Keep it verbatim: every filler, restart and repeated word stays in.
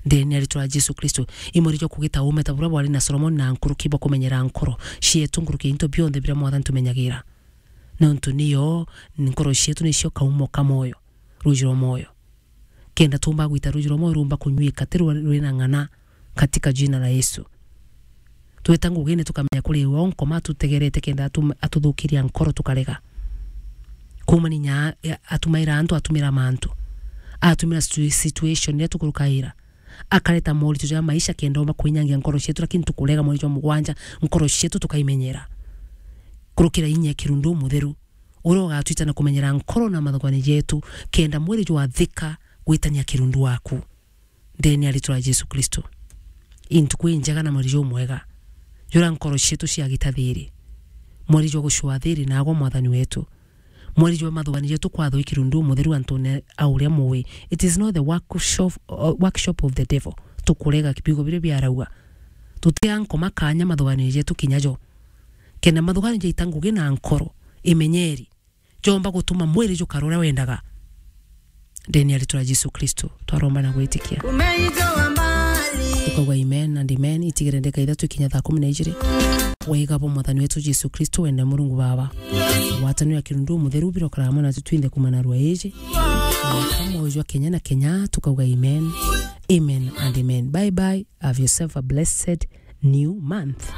Ndene ya ritwa ria Jesu Kristo, i mweri jwa kugita ume ta buria bwari na Solomoni na nkuruki bwa kumenyera nkoro cietu nkuruki ya into bionthe biria Mwathani tumenyagira. Nontu niyo, nkoro cietu nicio kaumo ka moyo, ruji rwa moyo. Kenda tumba gwita ruji rwa moyo rumba kunyuika ti rwa-, rwina ng'ana katika jina la Yesu. Tweta ngugine tukamenya kuri we onkoma atutegerete kenda atum-, atuthukiria nkoro tukarega. Kuumania nya-, atumaira antu, atumira mantu. Atumira situ-, situation iria tukurukaira. Akareta moritũ ja maisha kenda omba kwinyangia nkoro cietu, lakini tukurega mweri jwa mugwanja, nkoro cietu tukaimenyera. Kurukira inya ya kirundu umutheru, uria ugatwita na kumenyera nkoro na mathugani jetu, kenda mweri jwathika gwitania kirundu waku. Ndene ya ritwa ria Jesu Kristo. Intuku injega na mweri jumwega. Jura nkoro cietu ciagita thiri. Mweri jwa gucua thiri nagwa Mwathani wetu. Mweri jwa mathugani jetu kwathwa i kirundu umutheru antune a uria muwi. It is not the workshop, uh, workshop of the devil. Tukurega kibigo biria biarauga. Tutia nkoma kanya mathugani jetu kinya jo. Kenda mathugani jaita ngugi na nkoro, imenyeri, jomba gutuma mwiri jukara uria wendaga. Ndene ya ritwa ria Jesu Kristo, twaromba na gwitikia. Umeitoa mbali. Tukauga amen and amen. Itigire ndeka ithatu ikinya thaa kumi na ijiri. Wega bwa Mwathani wetu Jesu Kristo, wenda Murungu Baba, ngwataniro ya kirundu mutheru birokara hamwe na tutwinthe kuuma narua iji. Mwaka mweju jwa Kenya na Kenya, tukauga amen. Amen and amen. Bye bye. Have yourself a blessed new month.